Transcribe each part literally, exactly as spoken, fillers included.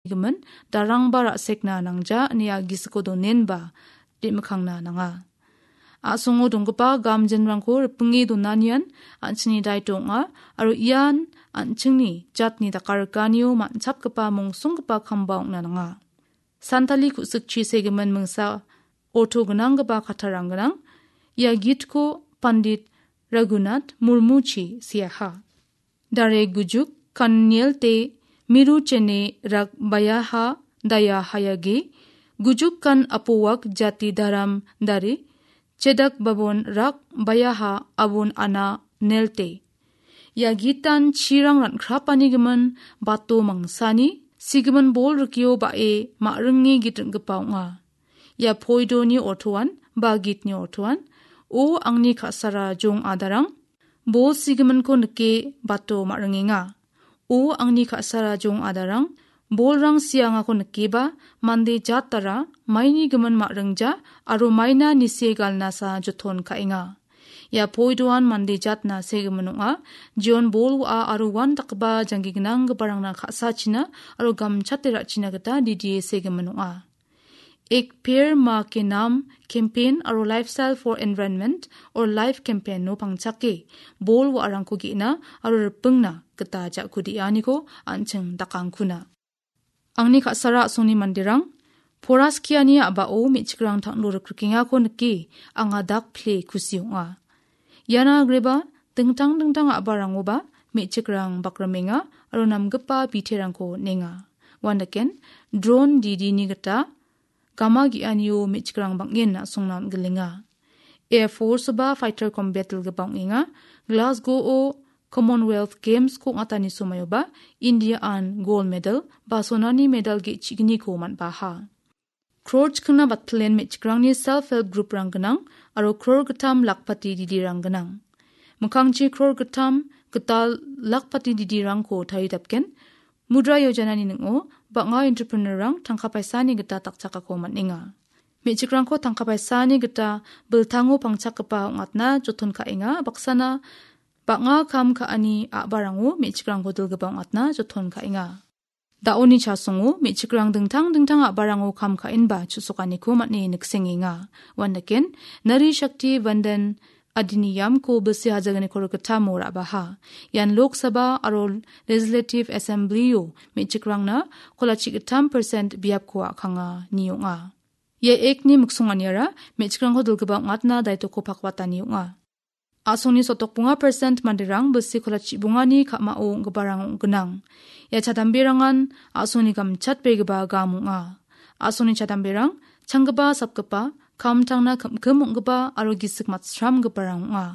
gimin darangba ra·sekna nangja ine a·gisiko donenba re·mikkangna nanga. A·songo donggipa gamjinrangko ripinge donanian an·chingni daito ong·a, aro ian an·chingni jatni dakarikanio man·chapgipa mongsonggipa kamba ong·na nanga. Santali ku·sikchi segimin mingsa orto gnanggipa kattarang gnang. Ia gitko Pandit Raghunath Murmuchi seaha. Dare gujuk kan nielte miru chene rak bayaha daya hayage, gujuk kan apowak jati dharam dare, chedak babon rak bayaha abon ana nelte. Ia gitan chirang rankrapani gimin bato mangsani, sigimin bol rikio ba·e ma·ringe git ring·gipa ong·a. Ia poidoni ortoan ba gitni ortoan, O angni ka·sara jong adarang, bol sigiminko nike bato ma·ringenga. O angni ka·sara jong adarang, bolrang siangako nikeba mande jatara maini gimin ma·ringja aro maina nisie galnasa joton ka·enga. Ia poidoan mande jatna segimin ong·a. Jion bol wa·a aro uandakgipa janggi gnanggiparangna ka·sachina aro gamchate ra·china gita didie segimin ong·a. Ek Ped Maa Ke Naam campaign aro Lifestyle for Environment or life campaign-o pangchake bol wa·arangko ge·na aro ripingna gita ja·ku de·aniko an·ching dakangkuna. Angni ka·sara a·songni manderang, pora skiani a·bao me·chikrang tanglo rikrikengako nike anga dak pile kusi ong·a. Iana agreba dingtang dingtang a·barangoba me·chikrang bakrimenga aro namgipa biterangko on·enga. Uandaken, drone didini gita gama ge·anio me·chikrang bang·en a·songna on·gilenga. Air Force-oba fighter combat dilgipa ong·enga. Glasgow-o Commonwealth Games-ko ong·atani somoioba India-an gold medal ba sonani medal ge·chigniko man·baha. Crore chikna batpilen me·chikrangni self-help group-rang gnang aro crore gittam lakpati didirang gnang. Mikkangchi crore gittam gital lakpati didirangko taridapgen, Mudra Yojanani ning·o bang·a entrepreneur-rang tangka paisani gita dakchakako man·enga. Me·chikrangko tangka paisani gita biltango pangchakgipa ong·atna joton ka·enga, baksana bang·a kam ka·ani a·barango me·chikrangko dilgipa ong·atna joton ka·enga. Da·oni chasongo me·chikrang dingtang dingtang a·barango kam ka·enba chu·sokaniko man·e niksengenga. Uandaken, Nari Shakti Vandan Adhiniyamko bilsi hajagniko rikgittamo ra·baha. Ian Lok Sabha aro Legislative Assembly-o me·chikrangna kolachi gittam percent biapko a·kanga ni ong·a. Ia act-ni miksonganiara me·chikrangko dilgipa ong·atna daitoko pakwatani ong·a. A·songni sotokbonga percent manderang bilsi kolachi bongani ka·mao ong·giparang ong·gnang. Ia chadamberangan a·songni gamchatbegipa gam ong·a. A·songni chadamberang changgipa, sapgipa, kamtangna kim-kim ong·gipa aro gisik matsramgiparang ong·a.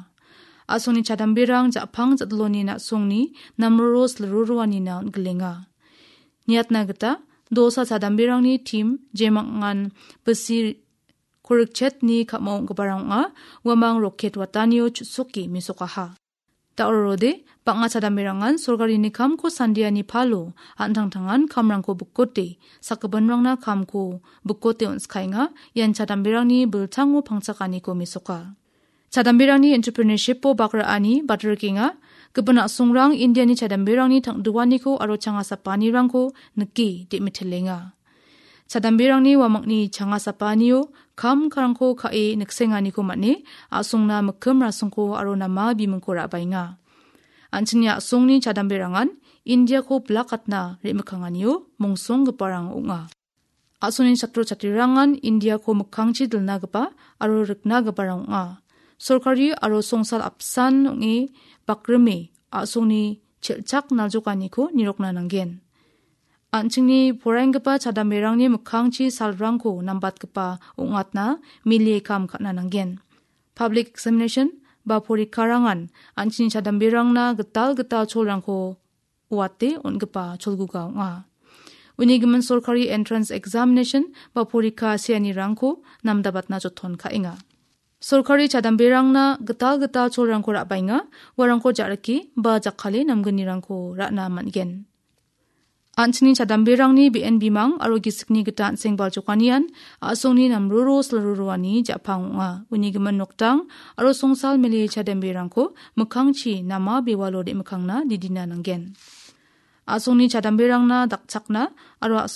A·songni chadamberang ja·pang ja·diloni na·songni namroro silroroanina on·gilenga. Niatna gita, dosa chadamberangni team jemangan bilsi korikchetni ka·mao ong·giparang ong·a, uamang roket watanio chu·soke mesokaha. Da·o rode, bang·a chadamberangan sorkarini kamko sandiani palo an·tangtangan kamrangko bikote, sakgipinrangna kamko bikote on·skaenga, ian chadamberangni biltango pangchakaniko mesoka. Chadamberangni entrepreneurship-o bak ra·ani batrikenga, gipin a·songrang Indiani chadamberangni tangduaniko aro changasapanirangko nike de·mitelenga. Chadamberangni uamangni changasapanio kam karangko ka·e niksenganiko man·e a·songna mikkim rasongko aro nama bimingko ra·baenga. An·chingni a·songni chadamberangan Indiako bilakatna re·mikanganio mongsonggiparang ong·a. A·songni chatro chatrirangan Indiako mikkangchi dilnagipa aro riknagiparang ong·a. Sorkari aro songsal apsan ong·e bakrime a·songni chelchak naljokaniko nirokna nanggen. An·chingni poraienggipa chadamberangni mikkangchi salrangko nambatgipa ong·atna milie kam ka·na nanggen. Public examination ba porikarangan an·chingni chadamberangna gital gital cholrangko uate on·gipa cholguga ong·a. Uni gimin sorkari entrance examination ba porika seanirangko namdabatna joton ka·enga. Sorkari chadamberangna gital gital cholrangko ra·baenga, uarangko ja·rike ba jakkale namgnirangko ra·na man·gen. An·chingni chadamberangni be·en bimang aro gisikni gita an·seng baljokanian a·songni namroro silroroani ja·pang ong·a. Uni gimin noktang aro songsal mele chadamberangko mikkangchi nama bewalo re·mikkangna didina nanggen. A·songni chadamberangna dakchakna aro a·song